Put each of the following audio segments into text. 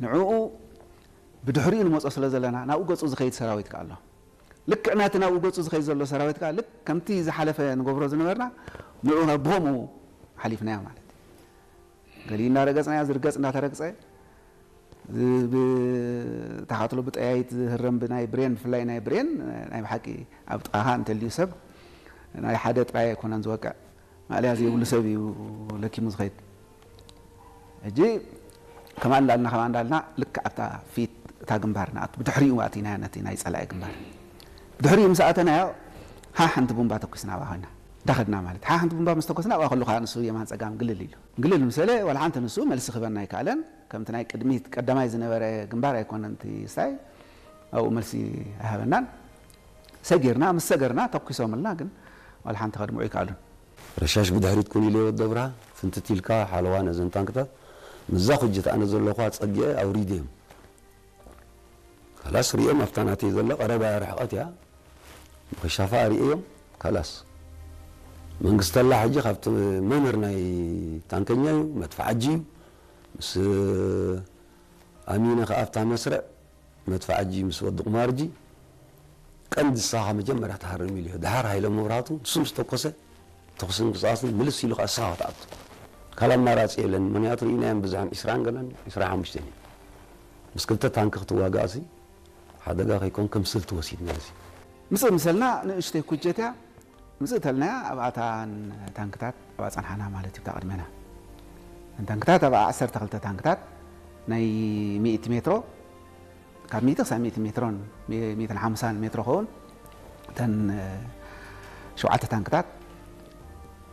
ንዕኡ ብድሕሪኡ ንመጾ ስለ ዘለና ናብኡ ገጹ ዝኸይድ ሰራዊት ከኣ ኣሎ። ልክዕ ናቲ ናብኡ ገጹ ዝኸይድ ዘሎ ሰራዊት ከኣ ልክ ከምቲ ዝሓለፈ ንገብሮ ዝነበርና ንዕኡ ብኸምኡ ሓሊፍናዮ ማለት እዩ። ገሊኡ እናረገጽናዮ ዝርገጽ እናተረግጸ ብተኻትሎ ብጠያይት ዝህረም ብናይ ብሬን ብፍላይ ናይ ብሬን ናይ ብሓቂ ኣብ ጥቓኻ እንተልዩ ሰብ ናይ ሓደ ጥራይ ኣይኮነን ዝወቅዕ ማእለያ ዘይብሉ ሰብ እዩ ለኪሙ ዝኸይድ። ሕጂ ከማ እንዳልና ከማ እንዳልና ልክዕ ኣብታ ፊት እታ ግንባር ንኣቱ ብድሕሪኡ ኣቲና ነቲ ናይ ጸላኢ ግንባር ብድሕሪኡ ምስ ኣተናዮ ሓ ሓንቲ ቡምባ ተኩስና ኣብኣ ኮይና እንዳኸድና ማለት ሓ ሓንቲ ቡምባ ምስ ተኮስና ኣብኣ ከለኻ ንሱ የማን ጸጋም ግልል ኢሉ ግልል ምስ በለ ዋላ ሓንቲ ንሱ መልሲ ክበና ኣይከኣለን። ከምቲ ናይ ቅድሚት ቀዳማይ ዝነበረ ግንባር ኣይኮነን እቲ ስታይ ኣብኡ መልሲ ኣይሃበናን። ሰጊርና ምስ ሰገርና ተኩሶምልና ግን ዋላ ሓንቲ ከድምዑ ኣይከኣሉን። ረሻሽ ብድሕሪት ኩን ኢለ ወዲ ኣብርሃ ፍንትት ኢልካ ሓለዋ ነዘን ታንክታት ምዛ ኩጀት ኣነ ዘለኹ ኣጸጊዐ ኣውሪደዮም። ካላስ ሪኦም ኣብታ ናተይ ዘላ ቀረባ ርሕቐት እያ። ብክሻፋ ሪእዮም ካላስ መንግስተላ ሕጂ ካብቲ መምህር ናይ ታንከኛ እዩ መድፍዓጂ እዩ ምስ ኣሚነ ከኣ ኣብታ መስርዕ መድፍዓጂ ምስ ወዲ ቁማርጂ ቀንዲ ንስኻ መጀመርያ ትሃርም ኢሉ ድሓር ሃይለ መብራህቱ ንሱ ምስ ተኮሰ ተኹስን ቅስቃስን ምልስ ኢሉ ከዓ ንስኻ ክትኣቱ ካልእ ኣማራፂ የለን። ምክንያቱ ርኢናዮም ብዝሖም ዒስራን ገለን ዒስራን ሓሙሽተን እዮም። ምስ ክልተ ታንኪ ክትዋጋእሲ ሓደጋ ከይኮን ከም ስልቲ ወሲድናዮ። ምፅእ ምሰልና ንእሽተይ ኩጀት እያ። ምፅእ ተልናያ ኣብኣታን ታንክታት ኣብኣ ፀንሓና ማለት እዩ። ብታ ቅድሜና ታንክታት ኣብኣ ዓሰርተ ክልተ ታንክታት ናይ ሚእቲ ሜትሮ ካብ ሚእቲ ክሳብ ሚእቲ ሜትሮን ሚእትን ሓምሳን ሜትሮ ኸውን እተን ሸውዓተ ታንክታት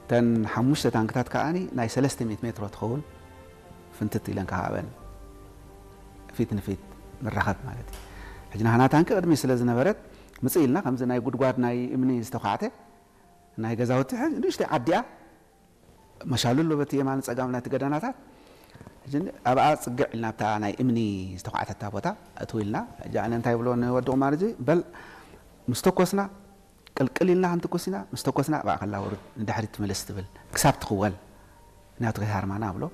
እተን ሓሙሽተ ታንክታት ከዓኒ ናይ ሰለስተ ሚእቲ ሜትሮ ትኸውን ፍንትት ኢለን ከዓበን ፊት ንፊት ንራኸብ ማለት እዩ። ሕጂ ናህና ታንኪ ቅድሚ ስለ ዝነበረት ምፅእ ኢልና ከምዚ ናይ ጉድጓድ ናይ እምኒ ዝተኳዕተ ናይ ገዛውቲ ንእሽተይ ዓዲያ መሻሉ ኣሎ በቲ የማን ጸጋም ናይቲ ገደናታት። ሕጂ ኣብኣ ጽግዕ ኢልና ኣብታ ናይ እምኒ ዝተዃዕተታ ቦታ እትው ኢልና ሕጂ ኣነ እንታይ ብሎ ንወዲ ቁማር እዚ በል ምስ ተኮስና ቅልቅል ኢልና ክንትኩስ ኢና ምስ ተኮስና ኣብኣ ከላ ውርድ ንድሕሪት ትምልስ ትብል ክሳብ ትኽወል ናቱ ከይሃርማና ብሎ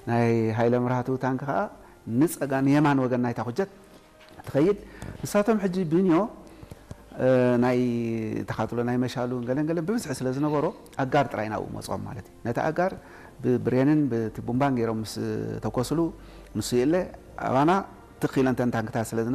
ናይ ሃይለ ምርሃቱ ታንክ ከዓ ንጸጋ ንየማን ወገን ናይታ ኩጀት ትኸይድ። ንሳቶም ሕጂ ብንዮ ናይ ተኻትሎ ናይ መሻሉ ገለን ገለን ብብዝሒ ስለ ዝነበሮ ኣጋር ጥራይ ናብኡ መፅኦም ማለት እዩ። ነቲ ኣጋር ብብሬንን ብቲ ቡምባን ገይሮም ምስ ተኮስሉ ንሱ የለ ኣባና ትኽ ኢለን ተን ታንክታት ስለ ዝነበራ